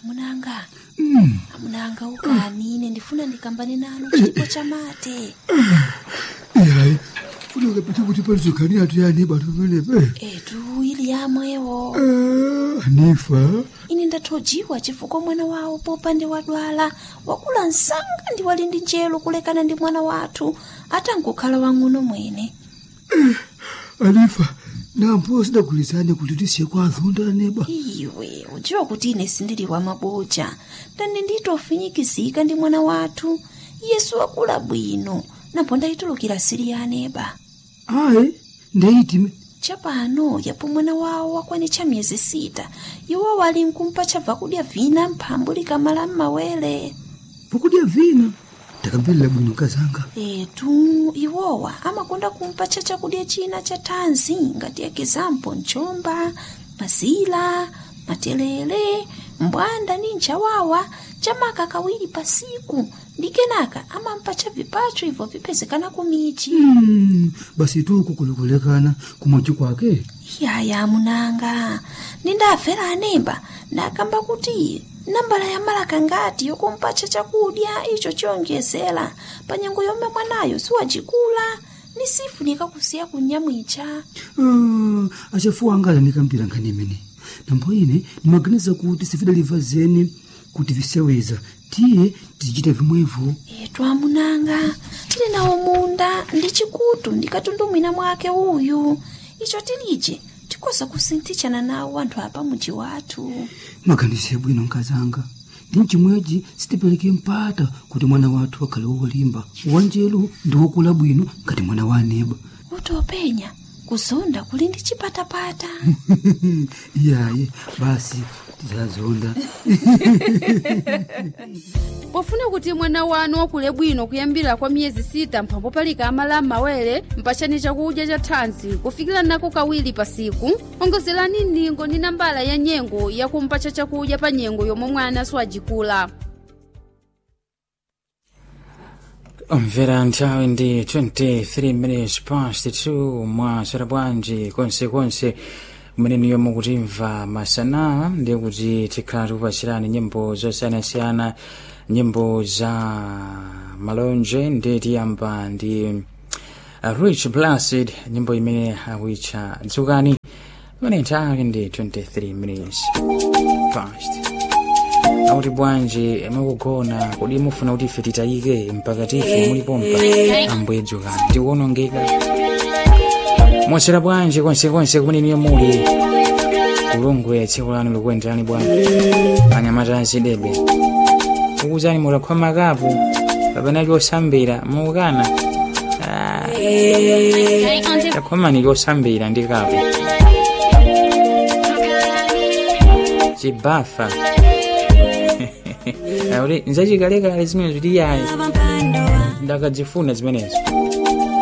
Amunanga, amunanga, ukani ine ndifuna ndikambane nanu chipo chamate. Ihayi, funeka phethe ukuthi palizogani yathu yani bantu pamenepe. Etu ili yamwewo. Anifa, Ine ndathojiwa chifukwa mwana wawo popande wadwala wakula msanga ndi wali ndi njelo kulekana ndi mwana wathu atangokhala wang'ono mwene. Anifa, nampo sidagulizane kuti tisiye kwa azonda neba. Iwe udziwa kuti ine sindili wa maboja ndani nditofinyikizika ndi mwana wathu Yesu wakula bwino napo ndayitulukira sili ya aneba. Ayi, ndeyitime. Chapano yapo mwana wawo wakwanitcha miyezi 6, iwo wali nkumpa chabva kudya vina mphambu likamala m'mawere. Pokudya vina ndakamverera bwino kazanga. Etu iwowa amakonda kumpatcha chakudya china cha thanzi ngati ekizampo mchomba, mazila, matelele, mbwanda ni nchawawa chamaka kawiri pasiku ndi kenaka amampatcha vipacho ibvo vipezekana kumichi. Basi tuku kulikulekana kumochi kwake. Yaya munanga, nindafera anemba ndakamba kuti nambala ya malaka ngati yokumpatcha chakudya icho chiyonjezera pa nyengo yomwe mwanayo siwacikula ni sifunika kusiya kunyamwicha. Ah, achafuwa anga anikambira nkhani imene. Nambo ine ndimaganiza kuti sifidaliva zeni kuti viseweza tiye tizichita vimwevo. Etu amunanga, tili nawo munda ndi chikutu ndikatundumwina mwake uyu icho tilije tikoza kusinthitshana nawo anthu apa muji wathu. Maganizo yabwino nkazanga, ndi mchimwechi sitipereke mpata kuti mwana wathu akhale wolimba wanjelu ndi wokula bwino ngati mwana wa aneba. Kuti openya kuzonda kuli ndi chipatapata. Iyayi, basi tizazonda. Pofuna kuti mwana wanu wakule bwino kuyambira kwa miyezi 6 mphambo palika amala m'mawere, mpachani chakudya cha thanzi kufikira nako kawiri pasiku, ongozerani ndingo ndi nambala ya nyengo yakumpatcha chakudya pa nyengo yomwe mwana siwajikula. Omvera, nthawi ndi 23 minutes past 2. Mwaswera bwanji konsekonse kumene mukutimva masana? Ndiye kuti tikhala tikupasirani nyimbo zosiyanasiyana, nyimbo za malonje. Ndiye tiyamba ndi Rich Blessed, nyimbo imene akuitcha Dzukani, imene nthawi ndi 23 minutes past. Akuti bwanji mukugona? Kodi mufuna kuti ife titayike mpaka tife mulipompa? Ambuye dzukani, tikuonongeka. Mwaswera bwanji konsekonse kumene niyo muli? Kulungwe, tsiku lanu likuyenderani bwanji? Anyamata azidebe ukuzani mutakhwa makapu kapena lyosambira mukana takhomani lyosambira ndi kapu chibafa akuti nzachikalekale zimene zitiyayi ndakadzifuna zimenezo.